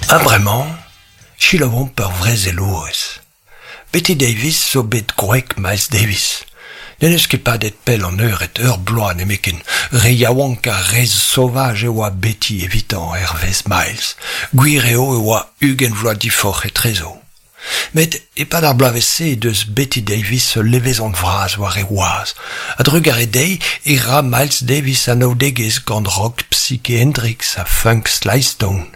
Ha bremañ, selaouomp ur vrezelourez. Bette Davis zo bet gwreg Miles Davis. N'en deus ket padet pell an eured, ur bloaz nemetken. Re yaouank ha re saovaj e oa Betty evitañ hervez Miles. Gwir eo e oa 20 vloaz diforc'h etrezo. Met e-pad ar bloavezh-se he deus Bette Davis ul levezon vras war he gwaz. A-drugarez dezhi e ra Miles Davis anaoudegezh gant rock Psyche Hendrix ha funk Sly Stone.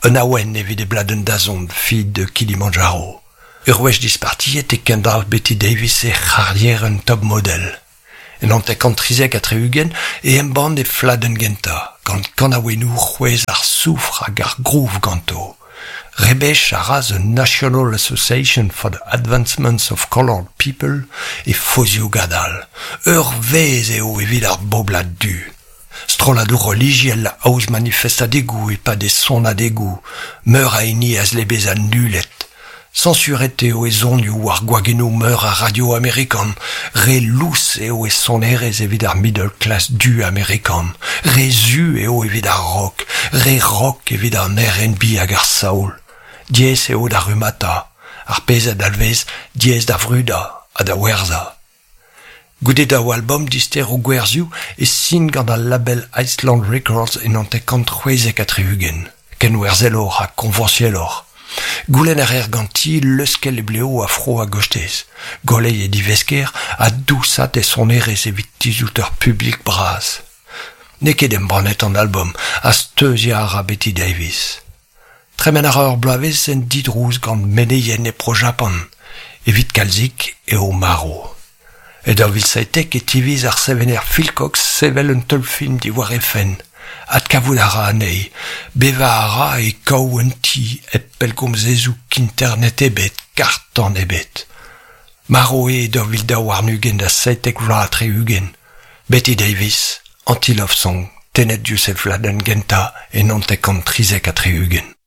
Un awen evit e bladenn dazont Filles de Kilimanjaro. Ur wech dispartiet e kendalc'h Bette Davis he c'harrierenn top model. En 1973 e embann he fladenn gentañ, gant kanaouennoù c'hwezh ar soufr hag ar groove ganto. Rebech a ra The National Association for the Advancement of Colored People e fozioù gadal. Ur vezh eo evit ar boblad du. Strolladoù relijiel a aoz manifestadegoù e-pad e sonadegoù, meur a hini a zle bezañ nullet. Sañsuret eo e sonioù war gwagennoù meur a radio amerikan, re lous eo e sonerezh evit ar middle class du amerikan, re zu eo evit ar rock, re rock evit an R&B hag ar soul. Diaes eo da rummata, ar pezh a dalvez diaes da vrudañ ha da werzhañ. Goude daou albom dister o gwerzhioù e sin gant al label Island Records en 1976, kenwerzheloc'h ha koñvañsieloc'h. Goulenn a reer ganti leuskel he blev afro a-gostez, goleiñ he divesker ha dousat he sonerezh evit tizhout ur publik bras. N'eo ket embannet an albom ha steuziañ a ra Bette Davis. Tremen a ra ur bloavezh en didrouz gant meneien e Bro-Japan. Evit kalzik eo marv. E 2017 e tiviz ar sevener Phil Cox sevel un teulfilm diwar he fenn. Adkavout a ra anezhi. Bevañ a ra e kav un ti hep pellgomzezoù internet ebet, karr-tan ebet. Marv eo e 2022 da 77. Bette Davis, Anti-Love Song, tennet diouzh he fladenn gentañ e 1973.